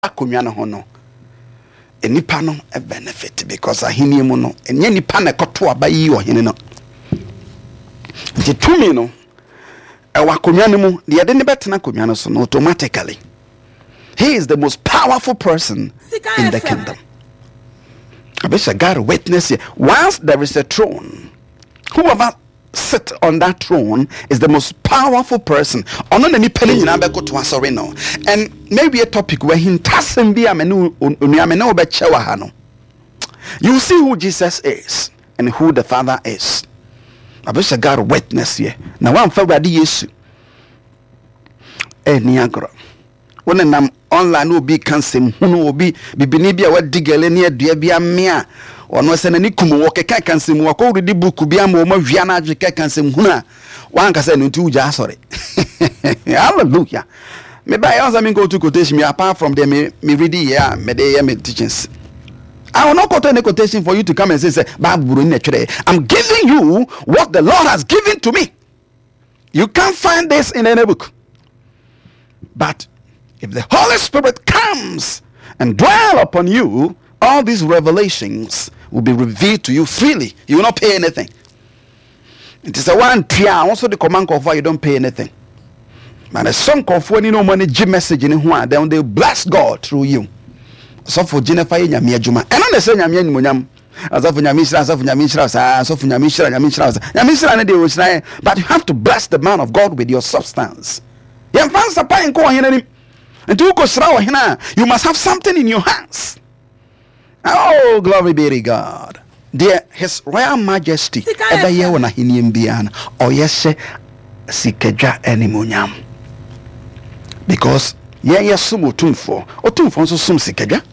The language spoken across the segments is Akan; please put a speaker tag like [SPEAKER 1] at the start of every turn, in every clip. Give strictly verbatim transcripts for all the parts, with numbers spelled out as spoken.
[SPEAKER 1] Akonnwa no ho no, nipa no benefit because ahenni mu no, ɛnyɛ nipa na ɛkɔto aba yi ɔhene no. Nti tumi no ɛwɔ akonnwa no mu. Deɛ yɛde ne bɛtena akonnwa no so no, automatically he is the most powerful person in the kingdom. Abisha God witness here. Once there is a throne, whoever sit on that throne is the most powerful person. Ɔno na nipa no nyinaa bɛkoto asɔre no. And maybe a topic where hintasɛm bi a me ne onua me ne wo bɛkyɛ wɔ ha no, you see who Jesus is and who the Father is. Abisha God witness here. Na wamfa Awurade Yesu ɛni agorɔ. Wo nenam online na obi ka nsɛm hunu, obi bibini bi a wadi gɛlɛ ne adua bi amea, ɔno sɛ n'ani kum wɔ keka ka nsɛm, wakɔ redi book bi ama wɔn awia no adwe keka nsɛm hunu a wankasa no nti wogya asɔre. Hallelujah. Me ba yɛ ɔsɛ mi nkɔ to quotation mi apart from the me me read yɛ a me de yɛ me teachings. I will not quote any quotation for you to come and say say Bible buroni na ɛtwerɛ. I'm giving you what the Lord has given to me. You can't find this in any book. But if the Holy Spirit comes and dwell upon you, all these revelations will be revealed to you freely. You will not pay anything. Nti sɛ woantua a, wo nso de kɔma nkɔfoɔ a, you don't pay anything. But ɛsɔ nkɔfoɔ ani na ɔmo ani gye message ne ho a, then they bless God through you. Ɔsɔfo gye ne fa yɛ Nyame adwuma. Ɛno na ɛsɛ Nyame animonyam. Asɔfo, Nyame nhyira, asɔfo, Nyame nhyira saa, asɔfo, Nyame nhyira, Nyame nhyira saa. Nyame nhyira ne deɛ ɔhyira yɛ. But you have to bless the man of God with your substance. Yɛmfa nsapa nkɔ ɔhene anim. Nti wokɔhyira ɔhene a, you must have something in your hands. Oh, glory be to God. Deɛ His Royal Majesty ɛbɛyɛ wɔ n'ahenniam biara no, ɔyɛ hyɛ Sikadwa animonyam. Because yɛn yɛ som Otumfoɔ, Otumfoɔ nso som Sikadwa.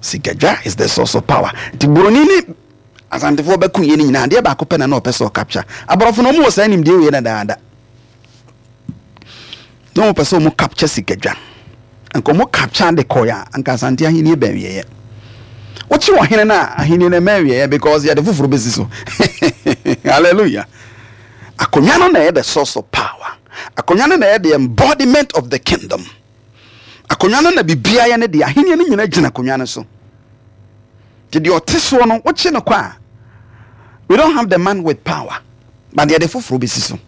[SPEAKER 1] Sikadwa is the source of power. Nti buroni ne Asantefoɔ bɛko yɛ no nyinaa, adeɛ baako pɛ na na ɔpɛ sɛ ɔcapture. Aborɔfo no, ɔmo wɔ saa nimdeɛ wei na daada na ɔmo pɛ sɛ ɔmo capture Sikadwa. Nka ɔmo capture de kɔɛ a, anka Asante ahenni bɛn wieɛ. Wokye ɔhene no a, ahenni no mɛn wieɛ because yɛde foforɔ bɛsi so. Hallelujah. Akonnwa no na ɛyɛ the source of power. Akonnwa no na ɛyɛ the embodiment of the kingdom. Akonnwa no na biribiara yɛ ne deɛ. Ahenni no nyinaa gyina akonnwa no so. Nti deɛ ɔte soɔ no, wokye no kɔ a, we don't have the man with power, but yɛde foforɔ bɛsi so.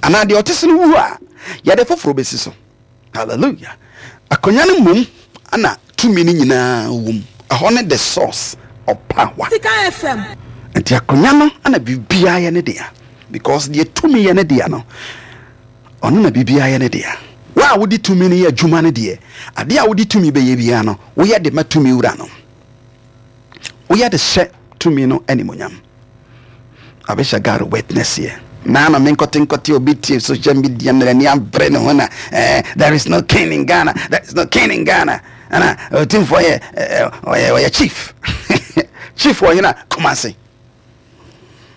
[SPEAKER 1] Anaa deɛ ɔte so no wu a, yɛde foforɔ bɛsi so. Hallelujah. Akonnwa no mmom ana tumi no nyinaa wɔ mu. Ɛhɔ ne the source of power.
[SPEAKER 2] Sika F M.
[SPEAKER 1] Nti akonnwa no ana biribiara yɛ ne dea because deɛ tumi yɛ ne dea no, ɔno na biribiara yɛ ne dea. Wo a wode tumi no yɛ adwuma no deɛ, adeɛ a wode tumi bɛyɛ biara no, woyɛ de ma tumi wura no, woyɛ de hyɛ tumi no animonyam. Abɛhyɛ God witness here. Naa na menkɔte nkɔte obi tie social media na n'ani abere ne ho na eh, there is no king in Ghana, there is no king in Ghana. Ɛna Otumfoɔ yɛ ɔyɛ ɔyɛ chief, chief wɔ hena? Kumase.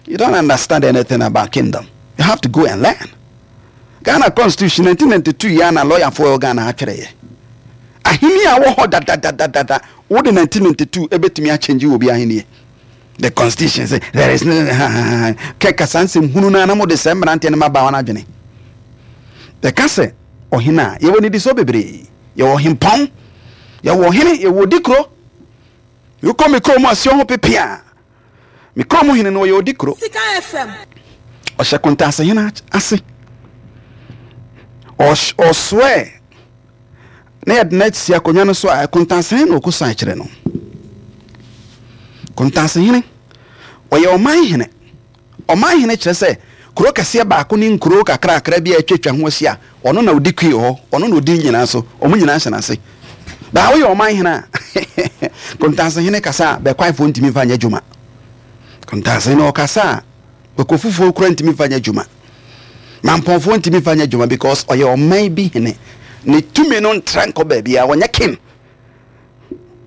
[SPEAKER 1] You don't understand anything about kingdom. You have to go and learn Ghana Constitution nineteen ninety-two. Yɛ na lɔyafoɔ wɔ Ghana atwerɛ yɛ ahenni a wɔ hɔ dadadadada. Wode nineteen ninety-two ɛbɛtumi akyɛngye wɔ bi ahenni? The constitution say there is no kɛ kasa nsɛm hunu no anam wode sɛ mmeranteɛ no mabaa wɔn adwene. Yɛka sɛ ɔhene a, yɛwɔ nidisoɔ bebree. Yɛwɔ ɔhempɔn, yɛwɔ ɔhene, yɛwɔ odikuro. Wokɔ me kurom aseɛ ho pepe a, me kurom hene no ɔyɛ odikuro.
[SPEAKER 2] Sika F M.
[SPEAKER 1] Ɔhyɛ kontaasehene ase. Ɔsoɛ na yɛde no asi akonnwa no so a, kontaasehene na ɔkɔ kyerɛ no. Kontaasehene ɔyɛ ɔman hene. Ɔman hene kyerɛ sɛ kuro kɛseɛ baako ne nkuro kakrakra bi a atwatwa ho ahyia, ɔno na ɔdi kui hɔ, ɔno na ɔdi nyinaa so, ɔmo nyinaa hyɛ n'ase. Baa woyɛ ɔman hene a, kontaasehene kasa a, bɛkwaefoɔ ntumi mfa nyɛ adwuma. Kontaasehene ɔkasa a, bɛkɔ kura ntumi mfa nyɛ adwuma, mampɔnfoɔ ntumi mfa nyɛ adwuma because ɔyɛ ɔman bi hene. Ne tumi no ntra nkɔ baabi a ɔnyɛ king,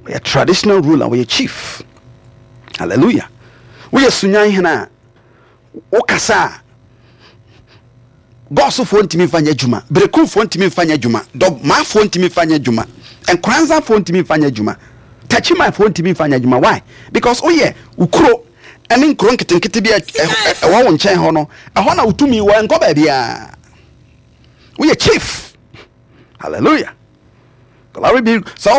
[SPEAKER 1] ɔyɛ traditional ruler, ɔyɛ chief. Hallelujah. Woyɛ Sunyan hene a, wokasa a, Gɔɔsofoɔ ntumi mfa nyɛ adwuma, Berekumfoɔ ntumi mfa nyɛ adwuma, Dɔmafoɔ ntumi mfa nyɛ adwuma, Nkoranzafoɔ ntumi mfa nyɛ adwuma, Takyimanfoɔ ntumi mfa nyɛ adwuma. Why? Because woyɛ wo kuro ɛne nkuro nketenkete bi a ɛwɔ wo nkyɛn hɔ no, ɛhɔ na wotumi wɔ, nkɔ baabiaa. Woyɛ chief. Hallelujah. Glory be. Sɛ wowɔ